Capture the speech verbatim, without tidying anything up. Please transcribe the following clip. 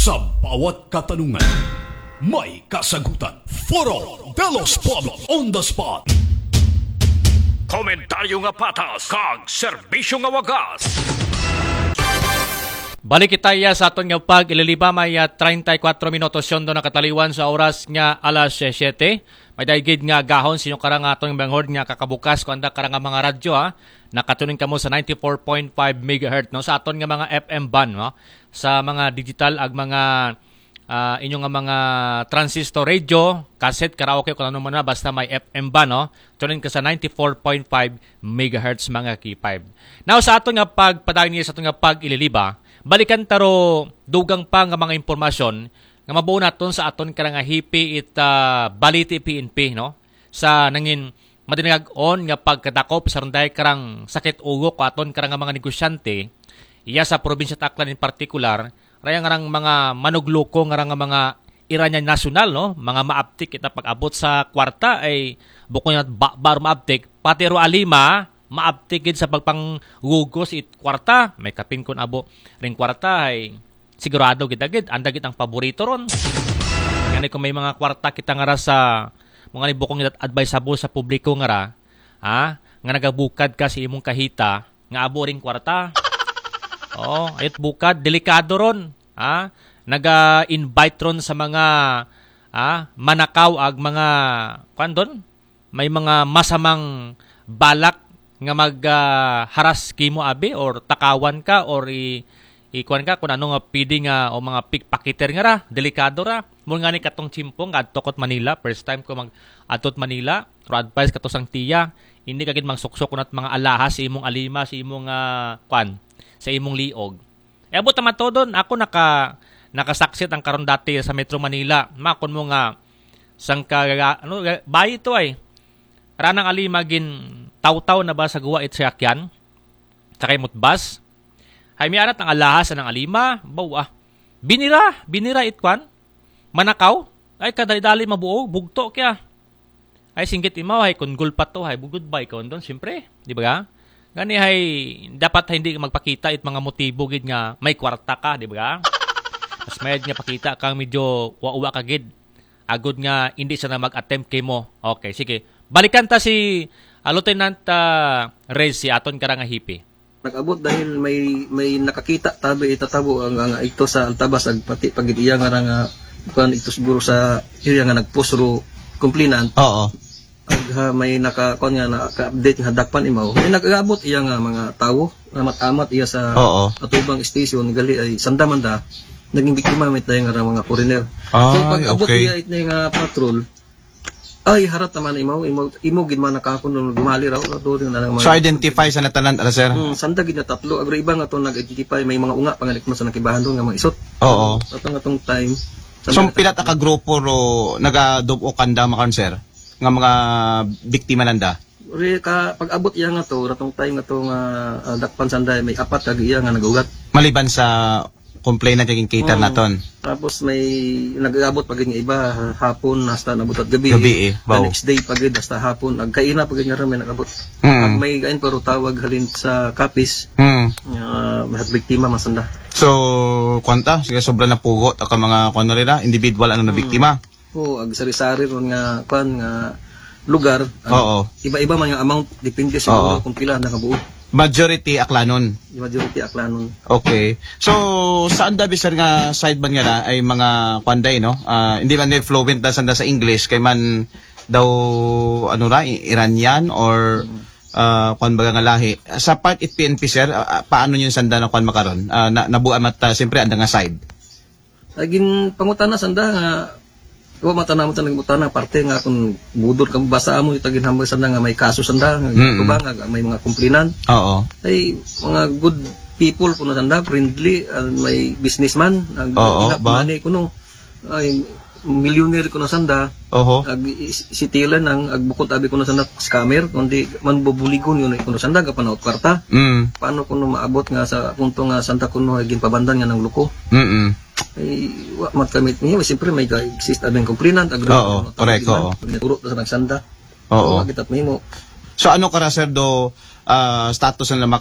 Sa bawat katanungan, may kasagutan. Foro de los Pueblos on the spot. Komentaryo nga patas kag serbisyo nga wagas. Balik kita iya sa aton nga pag-ililiba, may ah, treinta y cuatro minutos yon do nakataliwan sa oras nga alas siyete. May daigid nga gahon sinyo karang aton banghord nga kakabukas ko anda karang mga radyo ha. Nakatuning kamo sa ninety-four point five megahertz no, sa aton nga mga F M band no, sa mga digital ag mga ah, inyo nga mga transistor radio, cassette, karaoke, kung ano man na, basta may F M band no. Tune in ka sa ninety-four point five megahertz mga K five. Now sa aton nga pagpadayon niya sa aton nga pag-ililiba, balikan taro dugang pa nga mga impormasyon nga mabuo naton sa aton karang nga hipi it ah, Baliti P N P no. Sa nangin madinagag-on nga pagkadakop sa runday karang sakit ulo ko aton karang nga mga negosyante iya sa probinsya ta Aklan in partikular, raya nga rang mga manugluko nga rang mga Iranian nasyonal no, mga maabtik kita pag-abot sa kwarta ay bukon nga ba, bar maabtik pati ro alima maabtik gid sa pagpanggugos it kwarta. May kapin kun abo ring kwarta ay sigurado gid agid anda gid ang paborito ron. Ngani kung may mga kwarta kita nga ra sa mga ni bukong advisable sa publiko nga ra ha, nga nagabukad ka sa imong kahita nga abo ring kwarta. Oh, ayot bukad delikado ron ha. Naga-invite ron sa mga ah, manakaw ag mga kuan don may mga masamang balak nga mag ah, haras kimo abi or takawan ka or i, i kuan ka kung ano nga pwede nga o mga pickpocketer nga ra, delikado ra. Mo nga ni katong chimpo nga adto kot Manila, first time ko mag adto Manila, pero advice kato sang tiya, hindi ka gid magsuksok kunat mga alahas sa imong alima, sa imong ah, kuan, sa imong liog. E abot naman to doon. Ako naka, nakasaksit ang karon dati sa Metro Manila. Makon mo nga, sang ka, ano, bayi to ay. Ranang ali magin tawtaw na ba sa guwa it sakyan? Sakay mo't bus? Hay may anat ang alahas ng alima. Bawa. Binira, binira it kwan. Manakaw. Ay kadali-dali mabuo. Bugto kaya. Ay singgit imaw hay kun gulpa to hay goodbye kon don siyempre, di ba? Gani hay dapat hindi magpakita it mga motibo gid nga may kwarta ka, di ba? Mas mayad nga pakita kang medyo uwa-uwa ka gid. Agod nga hindi siya na mag-attempt kay mo. Okay, sige. Balikan ta si ah, Lieutenant ah, Rez, si aton karang nga hipi. Nag-abot dahil may may nakakita tabi itatabo ang, ang ito sa Altabas ag pati pagid iya nga ra nga kuan ito siguro sa area nga nagpusro complainant. Oo. Ag ha, may naka kuan nga naka-update nga dakpan imaw. May nag-abot iya nga mga tawo, amat-amat iya sa Oo. Atubang station gali ay sanda man da naging biktima may tayo nga ra mga foreigner. So Ay, pag-abot okay. Iya it nga patrol, ay, harat naman imo, imo, imo gid man nakakon nung gumali raw, raw doon na lang So mga identify sa natanan, ala sir? Hmm, sanda gid na tatlo, agro iba nga to nag-identify, may mga unga pangalit mo sa nakibahan doon nga mga isot. Oo. Sa atong atong time, So sanda pila ta ka grupo ro nagadubo kanda makan sir? Nga mga biktima nanda? Re ka pag-abot iya nga to, ratong time nga to nga ah, dakpan sanda may apat ka iya nga nagugat. Maliban sa complainant kay cater Mm. Naton. Tapos may nag-abot pa gid nga iba ha- hapon hasta nabot at gabi. Gabi eh, The bawo. Next day pa gid hasta hapon. Agkaina pa gid nga rin may nag-abot. Mm. Pag may gain pero tawag halin sa kapis, Mm. uh, may biktima masanda. So, kwanta, sige sobra na pugot ang mga kuan nila, individual ano na Mm. Biktima. Oo, ag sari-sari ron nga kuan nga lugar. Ang Oo. Iba-iba man nga amount depende siguro Oo. Kung pila na kabuo. Majority Aklanon. Majority Aklanon. Okay. So, saan dabi sir nga side man nga na ay mga kwanday no? Ah, hindi man may fluent na sanda sa English kay man daw ano ra I- Iranian or ah, kwan baga nga lahi. Sa part it P N P sir, ah, ah, paano yung sanda na kwan makaron? Ah, na, nabuan mat ah, siyempre anda nga side. Agin pangutana sanda nga wa mata namo sa nagmutana parte nga kung budol ka basa amo itagin hambal sanda nga may kaso sanda nga Mm-mm. Tubang nga may mga complainant. Oo. Ay mga good people kuno sanda, friendly, ah, may businessman, ang Oo, ina ba? Money kuno. Ay millionaire kuno sanda. Oho. Ag i- si Tila nang agbukod abi kuno sanda scammer kundi man bubuligon yun kuno sanda gapanaot kwarta. Mm. Paano kuno maabot nga sa punto nga sanda kuno ay ginpabandan nga nang luko? Mm. Ay, wa mat kami niya, siyempre may ga-exist abing complainant, agro. Oo, ano, correct, tawag oo. Nagturo sa nagsanda. Oo. Wa kita mahimo. So ano ka ra sir do ah, status na